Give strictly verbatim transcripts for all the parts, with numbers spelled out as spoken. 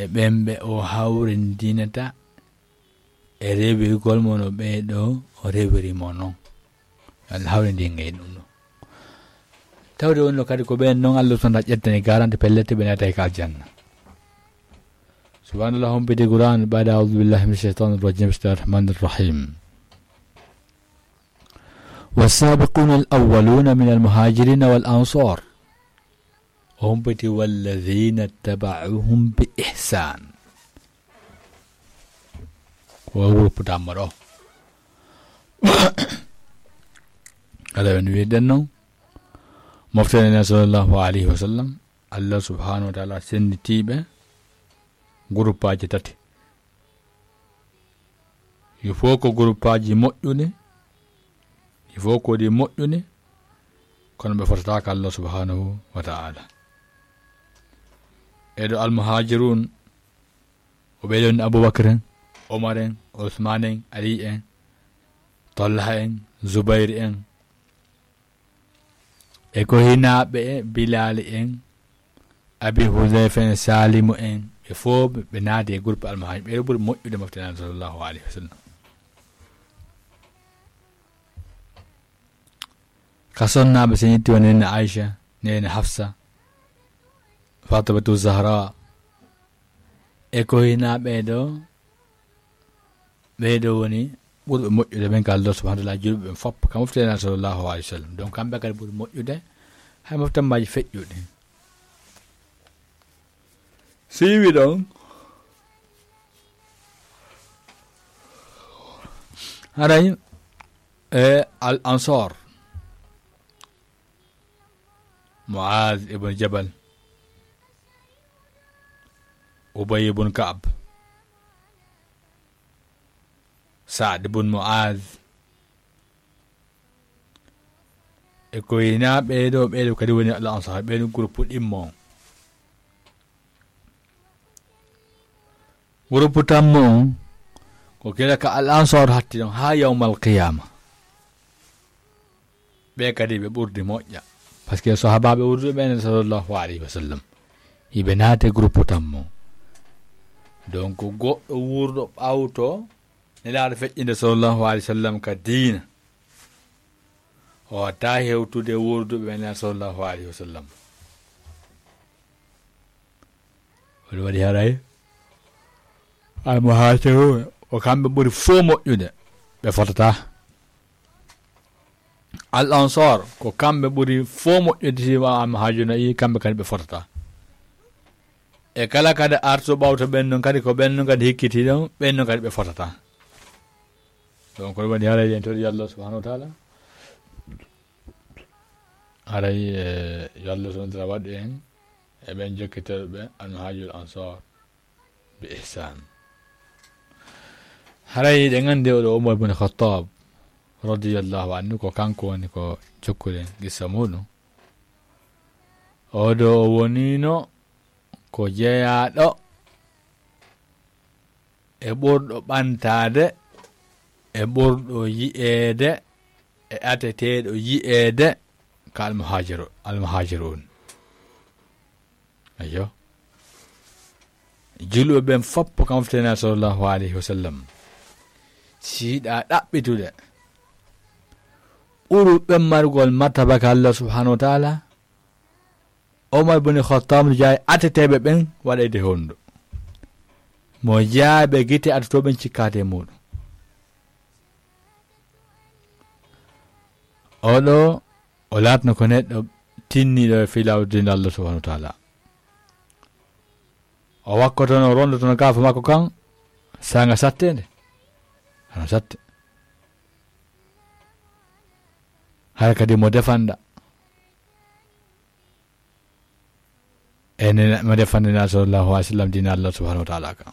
e ɓen ɓe o hawrindinata e rewirgol mo no ɓee ɗoo o rewiri mo non. Yo Allah hawrindin en e ɗum ɗoo. Tawde wonno kadi ko ɓen non Allah subhanahu wa ta'ala ƴettani garanti, pellet ɓe naatay ka aljanna. Subhanallah, humpiti Qur'an, بعد أعوذ بالله من الشيطان الرجيم، بسم الله الرحمن الرحيم. والسابقون الأولون من المهاجرين والأنصار. O humpiti: والذين اتبعوهم بإحسان. Ko o wopputammo ɗoo. Aɗa woni wi'den non, mofte Nela sallallahu alayhi wa sallam, Allah subhanahu wa ta'ala senditiiɓe guruppaaji tati. Yo fof ko guruppaaji moƴƴuɗi, yo fof ko ɗi moƴƴuɗi, kono ɓe fotataa ka Allah subhanahu wa ta'ala. E ɗo almuhajirun, o ɓeydon Abubakar en, Omar en, Usman en, Ali en, Talha en, Zubair en, e ko hinaaɓe e Bilaali en, Abi Hudayfa en, Saalimu en, ɓe fof ɓe naati e groupe almuhajir. Ɓe ɗo ɓuri moƴƴude mofte Nela sallallahu alayhi wa sallam. Ka sonnaaɓe, so en ƴetti won Neene Aisha, Neene Hafsa, Fatimatu Zahra, e ko hinaa ɓee ɗoo, ɓee ɗoo woni ɓurɓe moƴƴude ɓen ka Allah subhanahu wa ta'ala, julɓe ɓen fof, ka mofte Nela sallallahu alayhi wa sallam. Donc, kamɓe kadi ɓuri moƴƴude hay mofte majji feƴƴuɗi. Si iwi ɗon, haray e Al Ansar, Muaz ibn Jabal, Ubay ibn Ka'b, Sa'd ibn Muaz, e ko hinaa ɓee ɗoo, ɓee ɗoo kadi woni Al Ansar, ɓee ɗoo groupe ɗimmo on. Groupe tammo on, ko kila ka Al Ansar hatti ɗon haa yawmal qiyama. Ɓe kadi ɓe ɓurdi moƴƴa. Parce que sahabaaɓe wuurduɓe ɓen sallallahu alayhi wa sallam, hiɓe naate groupe tammo. Donc, goɗɗo wuurɗo ɓawto Nelaaɗo feƴƴinde sallallahu alayhi wa sallam ka diina, o watta hewtude wuurduɓe ɓen sallallahu alayhi wa sallam. Ko ɗum waɗi haray almuhaajiruun ko kamɓe ɓuri fof moƴƴude, ɓe fotataa. Al Ansar ko kamɓe ɓuri fof moƴƴude, si wa almuhaajiruuna, i kamɓe kadi ɓe fotataa. E kala kadi arto ɓawto ɓen non kadi, ko ɓen non kadi hikkiti ɗon, ɓen non kadi ɓe fotataa. Donc, ko ɗum waɗi haray en tori Allah subhanahu wa ta'ala. Haray, eh, yo Allah subhanahu wa ta'ala waɗu en e ɓen jokkitooɓe ɓe almuhaajiruun Ansar bi ihsan. Haray eɗen anndi oɗo Umar bin Khattab radiyallahu anhu, ko kanko woni ko jokkuɗen qissa muɗum. Oɗo o wonino ko jeyaaɗo e ɓurɗo ɓantaade, e ɓurɗo yi'eede, e ateteeɗo yi'eede ka almuhaajiru-, almuhaajiruun. Ayyo. Julɓe ɓen fof ko mofte Nelaaɗo sallallahu alayhi wa sallam. Si yiɗaa ɗaɓɓitude ɓurɓe ɓen margol martaba ka Allah subhanahu wa ta'ala, Omar bin Khattab no jaabi ateteeɓe ɓen waɗayde hondu. Mo jaabi gite atotooɓe ɓen cikkaade e muɗum. Oɗo, o laatno ko neɗɗo tinniiɗo e fii laawol diina Allah subhanahu wa ta'ala. O wakkotono, o rondotono kaafa makko kan, saanga satteende. Hano satte. Hara kadi mo defanda. E nena, mo defande Nelaaɗo sallallahu alayhi wa sallam diina Allah subhanahu wa ta'ala kan.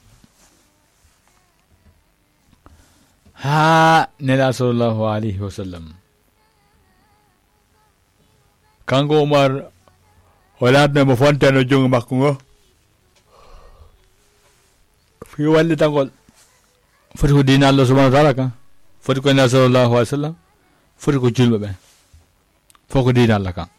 Haa Nelaaɗo sallallahu alayhi wa sallam. Kanko Umar, o laatno mo fontano junngo makko ngo. Fii wallitagol. Foti ko diina Allah subhanahu wa ta'ala kan. Foti ko Nelaaɗo sallallahu alayhi wa sallam. Foti ko julɓe ɓen. Fof ko diina Allah kan.